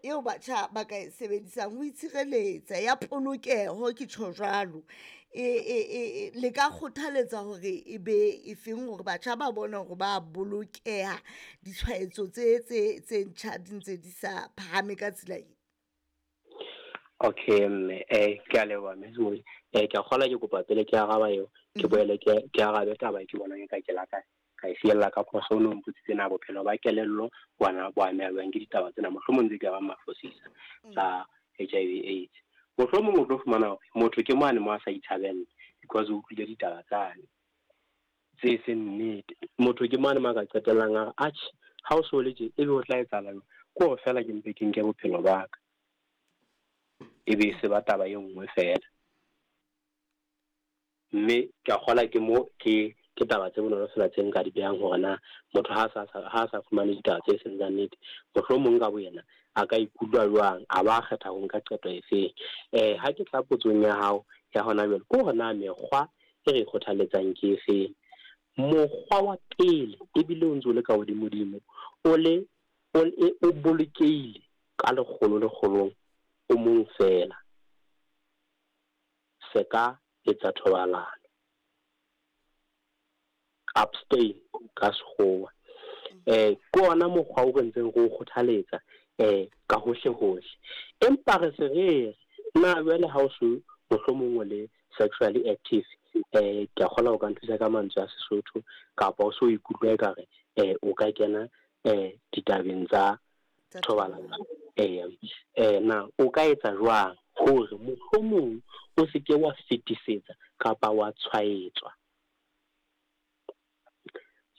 eo batjha ba ka e sebedisang ho itshireletsa ya polokeho, ke tjho jwalo, le ka kgothaletsa hore e be e feng hore batjha ba bone hore ba bolokeha, ditshwaetso tse ntjha di ntse di sa phahame ka tsela e? Okay mme, ke a leboha mme. Ke a kgolwa ke kopa pele ke araba eo, ke boele ke arabe taba e ke bonang e ka ke la ka ka e fiella ka phoso. O no mpotsitse na bophelo ba kelello bona bo ameha jwang ke ditaba tsena, mohlomong tse ka bang mafosisa tsa HIV AIDS. Mohlomong o tlo fumana hore motho ke mane mo a sa itshabella because o utlwile ditaba tsane tse seng nnete. Motho ke mane mo a ka qetellang a re atjhe, ha o so le tje ebe ho tla etsahala jwang, ke hore feela ke mpe ke nke bophelo ba ka, e be se ba taba e nngwe feela. Mme ke a kgola ke mo ke taba tse bonolo fela tse nka di behang hore na motho ha sa fumane ditaba tse seng tsa nnete, mohlomong ka boyena a ka ikutlwa jwang, a ba kgetha ho nka qeto e feng. Ha ke tla potsong ya hao ya hona jwale, ke hore na mekgwa e re kgothaletsang ke e feng. Mokgwa wa pele ebile o ntso le ka hodimodimo, o le o bolokehile ka lekgolo lekgolong o mong fela, se ka etsa thobalano, abstain ka sekgowa. Ke ona mokgwa o re ntseng re o kgothaletsa ka hohle hohle. Empa re se re na jwale ha o so mohlomong o le sexually active, ke a kgolwa o ka nthusa ka mantswe a Sesotho, kapa o so ikutlwa ekare o ka kena ditabeng tsa thobalano, na o ka etsa jwang hore mohlomong o se ke wa fetisetsa kapa wa tshwaetswa?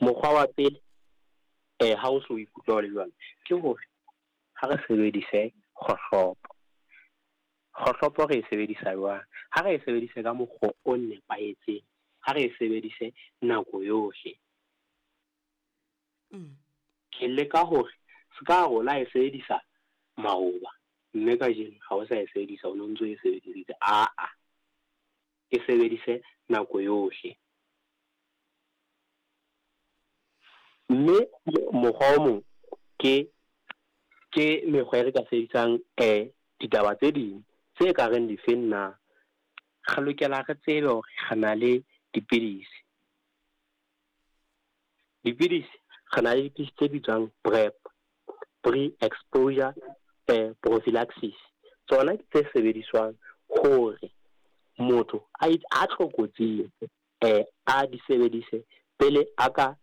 Mokgwa wa pele, ha o so ikutlwa o le jwalo, ke hore ha re sebedise kgohlopo. Kgohlopo re e sebedisa jwang? Ha re e sebedise ka mokgwa o nepahetseng, ha re e sebedise nako yohle. Ke leka hore se ka rona e sebedisa maoba, mme kajeno ha o sa e sebedisa, o no ntso e sebedisitse. Aa, e sebedise nako yohle. Mme mokgwa o mong ke mekgwa e re ka sebedisang ditaba tse ding tse ka reng difeng na. Re lokela re tsebe hore re na le dipidisi. Dipidisi, re na le dipidisi tse bitswang PrEP, pre-exposure prophylaxis. Tsona ke tse sebediswang hore motho a tlokotsing a di sebedise pele a ka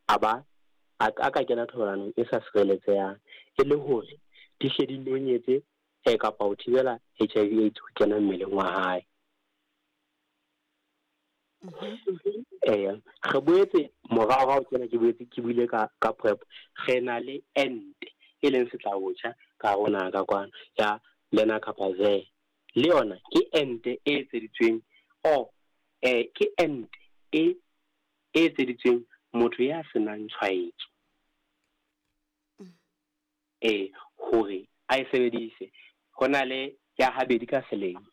a ka kena thobalanong e sa sireletsehang, e le hore di hle di nonyetse kapa ho thibela HIV AIDS ho kena mmeleng wa hae. Re boetse morao tsena ke boetse ke buile ka PrEP, re na le ente e leng setlabotjha ka rona ka kwana ya Lenacapavir, le yona ke ente e etseditsweng ke ente e etseditsweng motho ya senang tshwaetso, hore a e sebedise. Ho na le ya habedi ka selemo,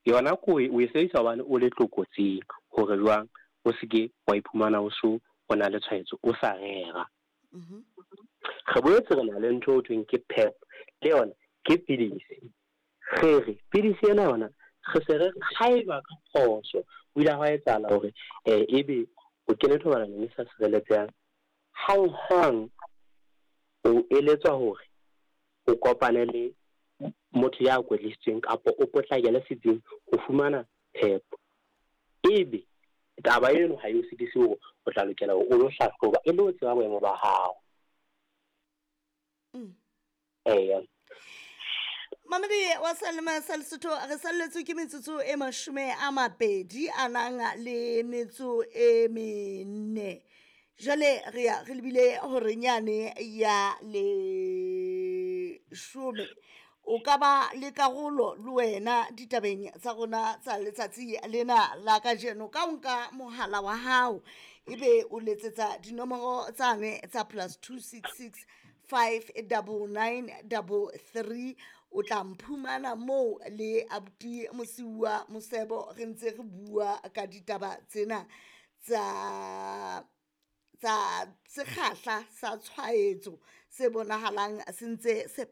yona ko o e sebedisa hobane o le tlokotsing, hore jwang o se ke wa iphumana o so o na le tshwaetso o sa rera. Re boetse re na le ntho ho thweng ke PEP, le yona ke pidisi. Re re pidisi ena yona re se re haeba ka phoso o ile hwa etsahala hore ebe o kene thobalanong e sa sireletsehang, hanghang o eletswa hore o kopane le motho ya kwetlisitsweng kapa o potlakele setsing ho fumana PEP. Ebe taba eno ha e o sitise hore o tla lokela hore o lo hlahloba e le ho tseba boemo ba hao. Mamedi wa Salema sa Lesotho, re salletswe ke metsotso e 20 a nang le metso e 4. Jwale re ya re lebile hore nyane ya 10. O ka ba le karolo le wena ditabeng tsa rona tsa letsatsi lena la kajeno ka o nka mohala wa hao, ebe o letsetsa dinomoro tsane tsa +266 599 33. O tla mphumana moo le abuti Mosiuwa Mosebo, re ntse re bua ka ditaba tsena tsa sekgahla sa tshwaetso se bonahalang se ntse se